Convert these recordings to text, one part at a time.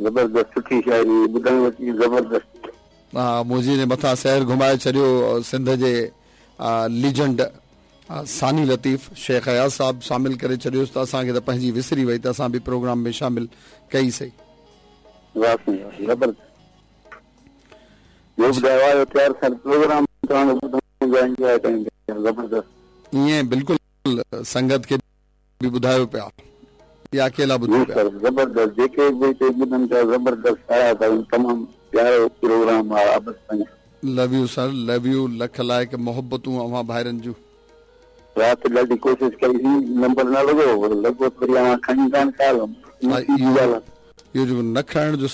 زبردست سٺي شاعري ٻڌڻ ۾ اچي زبردست. ها منهنجي جي مٿان سحر گهمائي ڇڏيو سنڌ جي ليجنڊ ثاني لطيف شيخ اياز صاحب شامل ڪري ڇڏيوس ته اسان کي ته پنهنجي وسري وئي ته اسان به پروگرام ۾ شامل ڪئي سي. واه سائين واه زبردست ٻيو ٻڌايو آيو تيار ٿيل پروگرام توهان جو ٻڌون پيا انجواء ڪيون پيا زبردست. ائين بلڪل سنگت کي به ٻڌايو پيا يا اڪيلا جي ٻڌو پيا. سر زبردست جيڪي به هتي ٻڌن پيا زبردست ساراهه ٿا ڪن تمام پيارو پروگرام آ عابد سائين. لو you sir love you lakh لائق محبتون اوهان ڀائرن جون. رات ڏاڍي ڪوشش ڪئي سين نمبر نه لڳو لڳو ته وري اوهان کڻي ڪانه ڪال نصيب جي ڳالهه آ. اهو جيڪو نه کڻڻ جو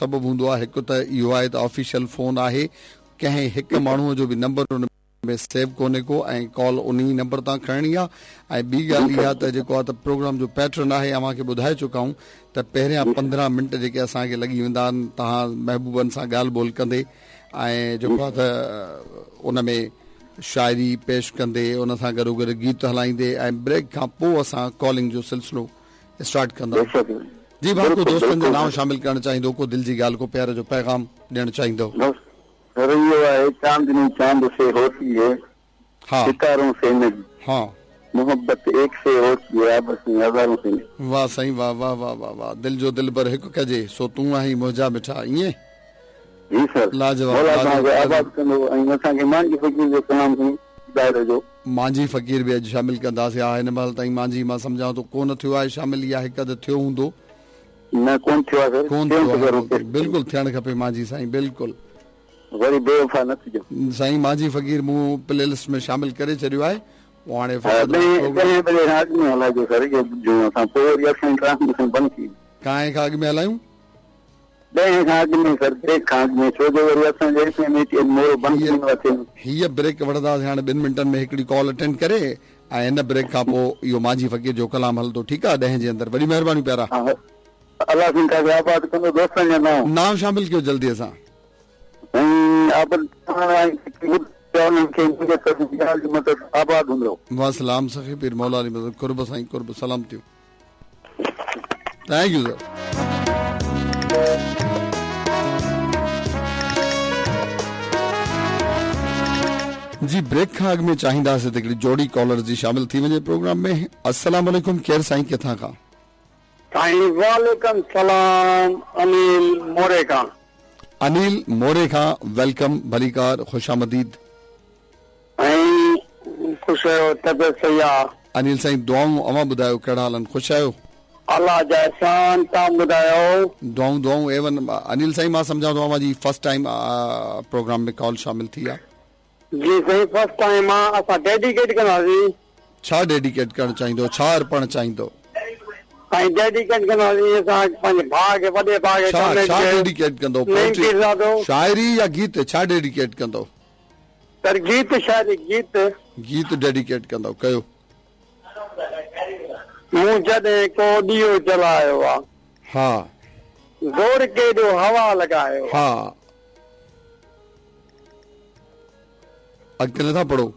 سبب هوندو آهي هڪ ته اهو آهي ته آفيشل فون آهي ڪنهن هڪ ماڻهو جو به نمبر ان ۾ سيو ڪونهي ڪو ۽ ڪال انهي نمبر تان کڻڻي آ ۽ ٻي ڳالهه اها ته جيڪو آ ته پروگرام جو پيٽرن آهي اوهان کي ٻڌائي چڪا آهيون ته پهريان 15 منٽ جيڪي اسان کي لڳي ويندا آهن توهان محبوبن سان ڳالهه ٻولهه ڪندي ۽ جيڪو آ ته ان ۾ شاعري پيش ڪندي ان سان گڏو گڏ گيت هلائيندي ۽ بريڪ کان پوء اسان ڪالنگ جو سلسلو اسٽارٽ ڪندا آهيون جي ڀاء ڪو دوستن جا نانء شامل ڪرڻ چاهيندو ڪو دل جي ڳالهه ڪو پيار جو پيغام ڏيڻ چاهيندو. سر اهو آهي چاندني چاند سي هوتي هي ستارون سي نهين محبت ايڪ سي هوتي هي آپس ۾ هزارون سي نهين. واه سائين واه واه واه واه واه دل جو دلبر هڪ ڪجي سو تون آهين منهنجا مٺا ائين. جي سر لاجواب مولا توهان لاجواب کي آباد ڪندو ۽ اسان کي مانجهي فقير جو ڪلام سائين ٻڌائي ڏجو. مانجهي فقير به اڄ شامل ڪنداسين ها هن مهل تائين مانجهي مان سمجهان ٿو ڪونه ٿيو آهي شامل يا هڪ اڌ ٿيو هوندو. نه ڪونه ٿيو آهي سر ڪونه ٿيڻ ٿيو کپي آهي رڪويسٽ بلڪل ٿيڻ کپي مانجهي سائين بلڪل. وري بي وفا نه ٿجو. سائين مانجهي فقير مون پلي لسٽ ۾ شامل ڪري ڇڏيو آهي پوء هاڻي ها فقط ڏهين پروگرام. ڏهين بجي کان اڳ ۾ هلائجو سر اهو ٻڌون اسان پوء وري اسان جي ٽرانسميشن بند ٿي ويندي. ڪائين کان اڳ ۾ هلايون؟ ڏهين کان اڳ ۾ سر بريڪ کان اڳ ۾ ڇو جو وري اسان جي F M A T M Moro بند ٿي هيء ويندو آهي ٿيم. هيء بريڪ وٺنداسين هاڻي ٻن منٽن ۾ هڪڙي ڪال اٽينڊ ڪري ۽ هن بريڪ کان پوء اهو مانجهي فقير جو ڪلام هلندو ٺيڪ آ ڏهين جي اندر وڏي مهرباني پيارا. ها الله سائين توهان کي آباد ڪندو دوستن جا نانء. نانء شامل ڪيو جلدي سان. سائين عابد پاڻ ۽ جيڪي ٻڌن پيا انهن کي منهنجي طرفان يا الله جي مدد آباد هوندو. وسلام سخي پير مولا علي مدد قرب سائين قرب سلامتيون. Thank you sir. جي بريڪ کان اڳ ۾ چاهينداسين ته هڪڙي جوڙي ڪالرز جي شامل ٿي وڃي پروگرام ۾ السلام عليڪم ڪير سائين ڪٿان کان. سائين وعليڪم سلام انيل موري کان. انيل موري کان welcome ڀليڪار خوش آمديد. سائين خوش آهيو طبيعت صحيح آ. انيل سائين دعائون اوهان ٻڌايو ڪهڙا حال آهن خوش آهيو. الله جا احسان توهان ٻڌايو. دعائون دعائون اي ون انيل سائين مان سمجهان ٿو اوهان جي فرسٽ ٽائيم پروگرام ۾ ڪال شامل ٿي آ. جي سائين فرسٽ ٽائيم آ اسان ڊيڊيڪيٽ ڪنداسين. ڇا ڊيڊيڪيٽ ڪرڻ چاهيندو ڇا ارپڻ چاهيندو. سائين ڊيڊيڪيٽ ڪنداسين اسان پنهنجي ڀاء کي وڏي ڀاء کي ڇا ڪامريڊ ڇا کي ڊيڊيڪيٽ ڪندو نعيم پوئٽري پيرزادو. شاعري يا گيت ڇا ڊيڊيڪيٽ ڪندو. سر گيت شاعري گيت. گيت ڊيڊيڪيٽ ڪندؤ ڪيو. مون جڏهن ڪو ڏيئو جلايو آ. ها. زور ڪيڏو هوا لڳايو آ. ها. اڳتي نٿا پڙهو.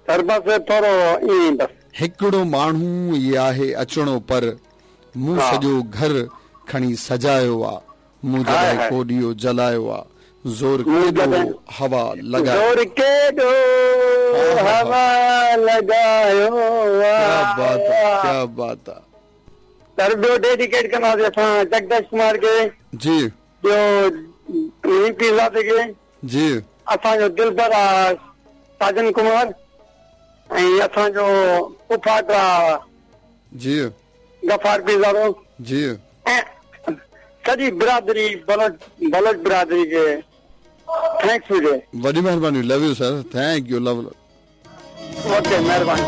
سر بس ٿورو ائين ئي بس. هڪڙو ماڻهو ئي آهي اچڻو پر مون سڄو گهر کڻي سجايو آ. مون جڏهن ڪو ڏيئو جلايو آ. زور ڪيڏو هوا لڳايو. زور ڪيڏو هوا لڳايو آ. ڪيا بات آ ڪيا بات آ. سر ٻيو ڊيڊيڪيٽ ڪنداسين اسان جگديش ڪمار کي. جي. ٻيو نعيم پيرزادي کي. جي. اسان جو دلبر آ ساجن ڪمار ۽ اسان جو پڦاٽ آ. جي. غفار پيرزادو. جي. ۽ سڄي برادري بلوچ بلوچ برادري کي thanks هجي. وڏي مهرباني لو you sir thank you love okay مهرباني.